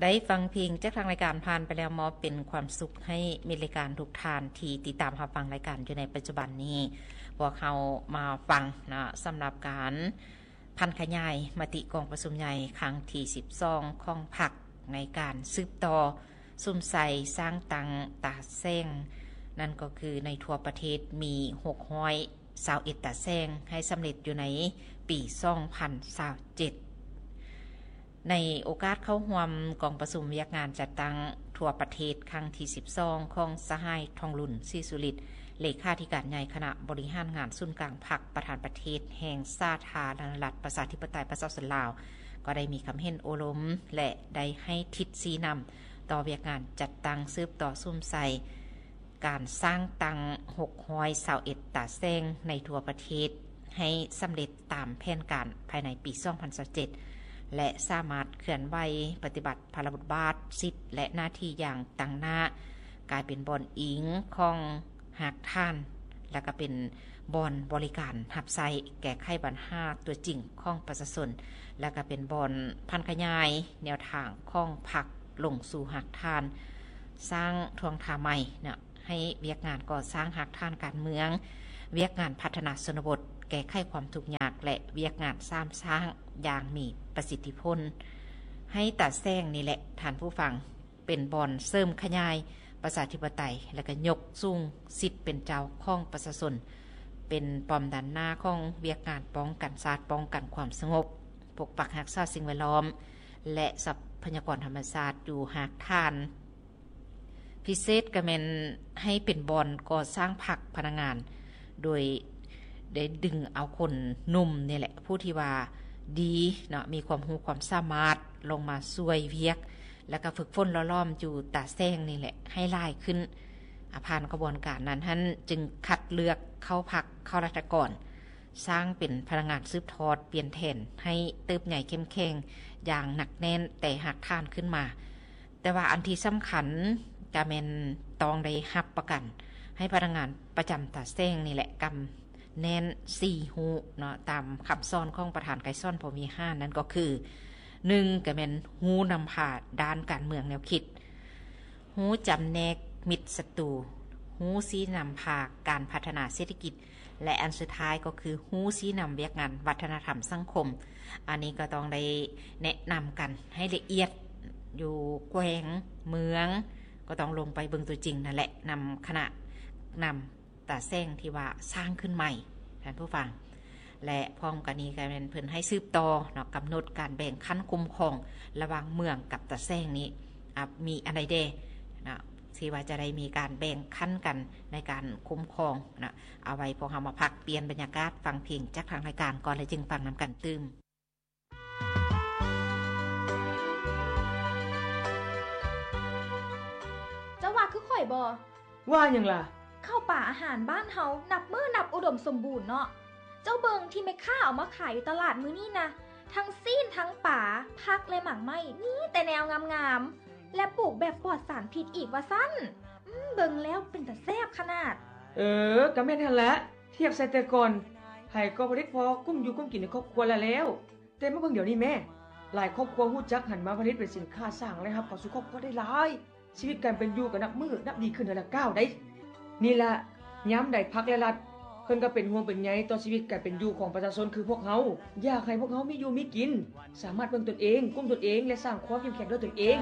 ໄດ້ຟັງເພງຈາກທາງລາຍການຜ່ານໄປແລ້ວ ມອບເປັນຄວາມສຸກໃຫ້ມິດລາຍການທຸກທ່ານທີ່ຕິດຕາມຮັບຟັງລາຍການຢູ່ໃນປັດຈຸບັນນີ້. ພວກເຮົາມາຟັງເນາະ ສຳລັບການຜັນຂະຫຍາຍມະຕິກອງປະຊຸມໃຫຍ່ຄັ້ງທີສິບສອງຂອງພັກ ໃນການສືບຕໍ່ສຸມໃສ່ສ້າງຕັ້ງຕາແສງ ນັ້ນກໍຄືໃນທົ່ວປະເທດມີຫົກຮ້ອຍ ຊາວເອັດຕາແສງໃຫ້ສຳເລັດຢູ່ໃນປີສອງພັນຊາວເຈັດ. ໃນໂອກາດເຂົ້າຮ່ວມກອງປະຊຸມວຽກງານຈັດຕັ້ງທົ່ວປະເທດຄັ້ງທີສິບສອງຂອງສະຫາຍ ທອງລຸນ ສີສຸລິດ ເລຂາທິການໃຫຍ່ຄະນະບໍລິຫານງານສູນກາງພັກ ປະທານປະເທດແຫ່ງສາທາລະນະລັດ ປະຊາທິປະໄຕ ປະຊາຊົນລາວ ກໍໄດ້ມີຄຳເຫັນໂອ້ລົມ ແລະ ໄດ້ໃຫ້ທິດຊີ້ນຳຕໍ່ວຽກງານຈັດຕັ້ງສືບຕໍ່ສຸມໃສ່ ການສ້າງຕັ້ງຫົກຮ້ອຍຊາວເອັດຕາແສງໃນທົ່ວປະເທດໃຫ້ສຳເລັດຕາມແຜນການພາຍໃນປີສອງພັນຊາວເຈັດ ແລະ ສາມາດເຄື່ອນໄຫວປະຕິບັດພາລະບົດບາດ, ສິດ ແລະ ໜ້າທີ່ຢ່າງຕັ້ງໜ້າ, ກາຍເປັນບ່ອນອີງຂອງຮາກຖານ ແລະ ກະເປັນບ່ອນບໍລິການຮັບໃຊ້ແກ້ໄຂບັນຫາຕົວຈິງຂອງປະຊາຊົນ ແລະ ກະເປັນບ່ອນຜັນຂະຫຍາຍແນວທາງຂອງພັກລົງສູ່ຮາກຖານ, ສ້າງທ່ວງທ່າໃໝ່ເນາະ ໃຫ້ວຽກງານກໍ່ສ້າງຮາກຖານການເມືອງ, ວຽກງານພັດທະນາຊົນນະບົດ, ແກ້ໄຂຄວາມທຸກຍາກ ແລະ ວຽກງານສາມສ້າງຢ່າງມີປະສິດທິຜົນ. ໃຫ້ຕາແສງນີ້ແຫຼະ ທ່ານຜູ້ຟັງ, ເປັນບ່ອນເສີມຂະຫຍາຍປະຊາທິປະໄຕ ແລະ ກະຍົກສູງສິດເປັນເຈົ້າຂອງປະຊາຊົນ, ເປັນປ້ອມດ້ານໜ້າຂອງວຽກງານປ້ອງກັນຊາດ, ປ້ອງກັນຄວາມສະຫງົບ, ປົກປັກຮັກສາສິ່ງແວດລ້ອມ ແລະ ຊັບພະຍາກອນທຳມະຊາດຢູ່ຮາກຖານ. ພິເສດກະແມ່ນໃຫ້ເປັນບ່ອນກໍ່ສ້າງພັກພະນັກງານ ໂດຍໄດ້ດຶງເອົາຄົນໜຸ່ມນີ້ແຫຼະ ຜູ້ທີ່ວ່າດີເນາະ ມີຄວາມຮູ້ຄວາມສາມາດລົງມາຊ່ວຍວຽກ ແລ້ວກະຝຶກຝົນຫຼໍ່ຫຼອມຢູ່ຕາແສງນີ້ແຫຼະໃຫ້ຫຼາຍຂຶ້ນ. ອາ ຜ່ານຂະບວນການນັ້ນຫັ້ນ ຈຶ່ງຄັດເລືອກເຂົ້າພັກ ເຂົ້າລັດຖະກອນ ສ້າງເປັນພະນັກງານສືບທອດປ່ຽນແທນໃຫ້ເຕີບໃຫຍ່ເຂັ້ມແຂງຢ່າງໜັກແໜ້ນແຕ່ຮາກຖານຂຶ້ນມາ. ແຕ່ວ່າອັນທີ່ສຳຄັນກະແມ່ນຕ້ອງໄດ້ຮັບປະກັນໃຫ້ພະນັກງານປະຈຳຕາແສງນີ້ແຫຼະ ກຳແໜ້ນສີ່ຮູ້ເນາະ ຕາມຄຳສອນຂອງປະທານໄກສອນ ພົມວິຫານ ນັ້ນກໍຄື ໜຶ່ງ ກະແມ່ນຮູ້ນຳພາດ້ານການເມືອງແນວຄິດ, ຮູ້ຈຳແນກມິດສັດຕູ, ຮູ້ຊີ້ນຳພາການພັດທະນາເສດຖະກິດ ແລະ ອັນສຸດທ້າຍກໍຄືຮູ້ຊີ້ນຳວຽກງານວັດທະນະທຳສັງຄົມ. ອັນນີ້ກໍຕ້ອງໄດ້ແນະນຳກັນໃຫ້ລະອຽດ ຢູ່ແຂວງເມືອງ ກໍຕ້ອງລົງໄປເບິ່ງຕົວຈິງນັ້ນແຫຼະ ນຳຄະນະນຳຕາແສງທີ່ວ່າສ້າງຂຶ້ນໃໝ່ ທ່ານຜູ້ຟັງ. ແລະ ພ້ອມກັນນີ້ກໍແມ່ນເພິ່ນໃຫ້ສືບຕໍ່ເນາະ ກຳນົດການແບ່ງຂັ້ນຄຸ້ມຄອງລະຫວ່າງເມືອງກັບຕາແສງນີ້ ອາ ມີອັນໃດແດ່ເນາະ ທີ່ວ່າຈະໄດ້ມີການແບ່ງຂັ້ນກັນໃນການຄຸ້ມຄອງເນາະ. ເອົາໄວ້ພວກເຮົາມາພັກປ່ຽນບັນຍາກາດ ຟັງເພງຈາກທາງລາຍການກ່ອນ ແລ້ວຈຶ່ງຟັງນຳກັນຕື່ມ. ເຈົ້າວ່າຄືຂ້ອຍບໍ່? ວ່າຫຍັງລະ? ເຂົ້າປາອາຫານບ້ານເຮົານັບມື້ນັບອຸດົມສົມບູນເນາະ. ເຈົ້າເບິ່ງທີ່ແມ່ຄ້າເອົາມາຂາຍຢູ່ຕະຫຼາດມື້ນີ້ນະ, ທັງຊີ້ນ ທັງປາ, ຜັກ ແລະ ໝາກໄມ້ ມີແຕ່ແນວງາມໆ ແລະ ປູກແບບປອດສານພິດອີກວ່າຊັ້ນ. ອືມ ເບິ່ງແລ້ວເປັນຕາແຊບຂະໜາດ. ເອີ ກະແມ່ນຫັ້ນລະ, ທຽບໃສ່ແຕ່ກ່ອນ ໃຜກໍຜະລິດພໍກຸ້ມຢູ່ກຸ້ມກິນໃນຄອບຄົວລະແລ້ວ. ແຕ່ມາເບິ່ງດຽວນີ້ແມ້, ຫຼາຍຄອບຄົວຮູ້ຈັກຫັນມາຜະລິດເປັນສິນຄ້າ ສ້າງລາຍຮັບເຂົ້າສູ່ຄອບຄົວໄດ້ຫຼາຍ, ຊີວິດການເປັນຢູ່ກໍນັບມື້ນັບດີຂຶ້ນເທື່ອລະກ້າວໃດ໋. ນີ້ລະ ຍາມໃດພັກ ແລະ ລັດ ເພິ່ນກໍເປັນຫ່ວງເປັນໃຍຕໍ່ຊີວິດການເປັນຢູ່ຂອງປະຊາຊົນຄືພວກເຮົາ, ຢາກໃຫ້ພວກເຮົາມີຢູ່ມີກິນ, ສາມາດເບິ່ງຕົນເອງ, ກຸ້ມຕົນເອງ ແລະ ສ້າງຄວາມເຂັ້ມແຂງດ້ວຍຕົນເອງ.